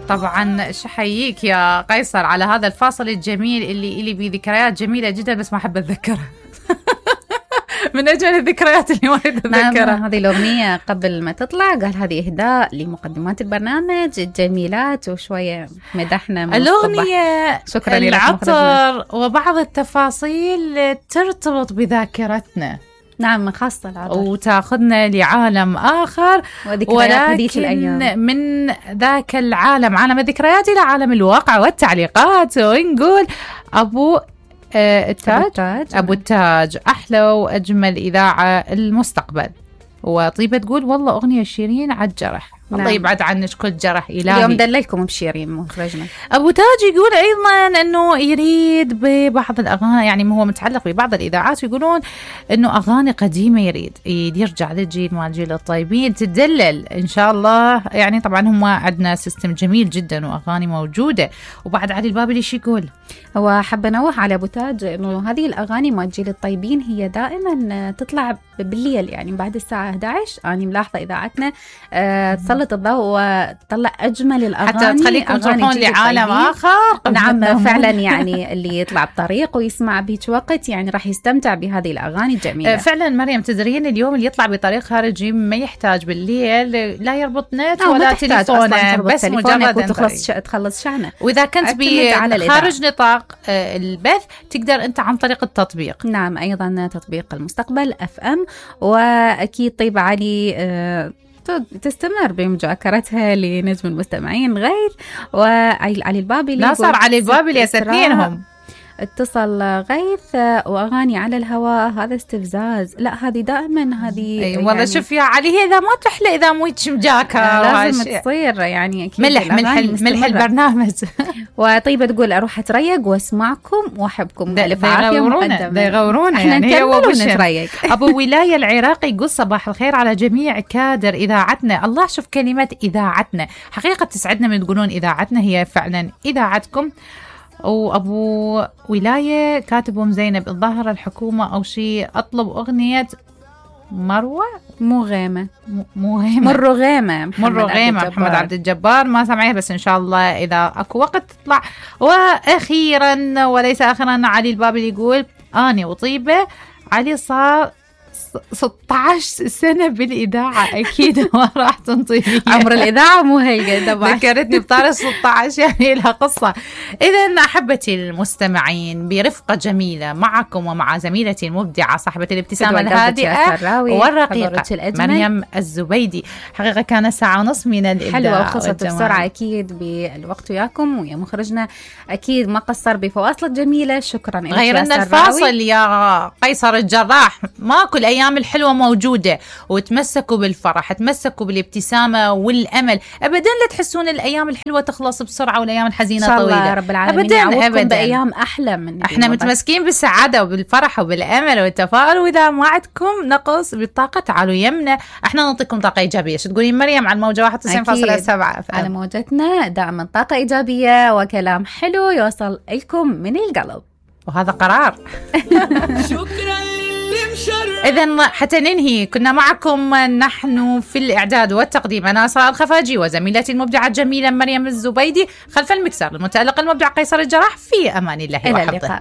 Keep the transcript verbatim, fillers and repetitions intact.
طبعا شحييك يا قيصر على هذا الفاصل الجميل اللي إلي بيه ذكريات جميلة جدا بس ما أحب أتذكرها. من أجل الذكريات اللي ما أتذكرها. نعم، هذه الأغنية قبل ما تطلع قال هذه إهداء لمقدمات البرنامج الجميلات، وشوية مدحنا من الأغنية. شكرا العطر وبعض التفاصيل ترتبط بذاكرتنا. نعم، خاصة العطر وتاخذنا لعالم آخر، ولكن من ذاك العالم، عالم الذكريات، إلى عالم الواقع والتعليقات. ونقول أبو آه التاج أبو التاج, أبو التاج أحلى وأجمل إذاعة المستقبل. وطيبة تقول والله أغنية شيرين على الجرح. الله نعم. يبعد عنك كل جرح إلهي. اليوم دللكم بشيرين مخرجنا. أبو تاج يقول أيضا أنه يريد ببعض الأغاني، يعني هو متعلق ببعض الإذاعات، ويقولون أنه أغاني قديمة يريد يرجع للجيل مال جيل الطيبين تدلل إن شاء الله. يعني طبعا هم عندنا سيستم جميل جدا وأغاني موجودة. وبعد علي البابلي شو يقول؟ هو حب نوه على أبو تاج أنه هذه الأغاني مال جيل الطيبين هي دائما تطلع بالليل، يعني بعد الساعة إحدى عشر. أنا ملاحظة إذاعتنا أه تسلط الضوء وتطلع أجمل الأغاني حتى تخليكم تروحون لعالم آخر. نعم فعلا، يعني اللي يطلع بطريق ويسمع بهيك وقت يعني راح يستمتع بهذه الأغاني الجميلة. فعلا مريم، تدرين اليوم اللي يطلع بطريق خارجي ما يحتاج بالليل لا يربط نت ولا تليفونه، بس مجرد وتخلص تخلص شحنه. وإذا كنت بخارج نطاق البث تقدر أنت عن طريق التطبيق. نعم، أيضا تطبيق المستقبل أف أم. وأكيد طيب علي أه تستمر بمجاكرتها لنجم المستمعين غير وعلي البابلي. لا صار علي البابلي يستثنينهم. اتصل غيث وأغاني على الهواء، هذا استفزاز. لا هذه دائما هذه أي والله يعني شوف يا علي، هي إذا ما تحلى إذا مو مجاكر لازم تصير يعني أكيد ملح ملح ملح البرنامج. وطيبة تقول أروح أتريق واسمعكم وأحبكم. ده يغورونا ده يغورونا احنا يعني نكمل ونتريق. أبو ولاية العراقي يقول صباح الخير على جميع كادر إذاعتنا. الله، شوف كلمة إذاعتنا حقيقة تسعدنا من تقولون إذاعتنا، هي فعلا إذاعتكم. وأبو ولاية كاتب أم زينب الظاهرة الحكومة أو شيء، أطلب أغنية مروة مو غيمة مو غيمة مرو غيمة مرو غيمة محمد عبد الجبار. ما سمعيها بس إن شاء الله إذا أكو وقت تطلع. وأخيرا وليس آخرا علي البابلي يقول أنا وطيبة علي صار ستة عشر سنة بالإذاعة، أكيد ما راح تنطي عمر الإذاعة مو هيك. ذكرتني بطارق ستة عشر يعني لها قصة. إذن أحبتي المستمعين، برفقة جميلة معكم ومع زميلتي المبدعة صاحبة الابتسامة الهادئة والرقيقة مريم الزبيدي. حقيقة كان ساعة ونص من الإبداع حلوة وخلصت بسرعة أكيد بالوقت وياكم، ويا مخرجنا أكيد ما قصر بفواصل جميلة. شكرا لك. غير أن الفاصل يا قيصر الجراح، ما كل أيام الحلوة موجودة، وتمسكوا بالفرح، تمسكوا بالابتسامة والأمل. أبدا لا تحسون الأيام الحلوة تخلص بسرعة والأيام الحزينة طويلة. إن شاء الله رب العالمين أبدا أبدا بأيام أحلى من احنا متمسكين بالسعادة وبالفرح وبالأمل والتفاؤل. وإذا ما عندكم نقص بالطاقة تعالوا يمنا، احنا نعطيكم طاقة إيجابية. شو تقولين مريم عن موجة واحد وتسعين فاصلة سبعة على موجتنا؟ دائما طاقة إيجابية وكلام حلو يوصل لكم من القلب، وهذا قرار. شكرا. إذن حتى ننهي كنا معكم نحن في الإعداد والتقديم أنا أسراء الخفاجي وزميلتي المبدعة الجميلة مريم الزبيدي، خلف المكسر المتألق المبدع قيصر الجراح. في أمان الله وحفظه.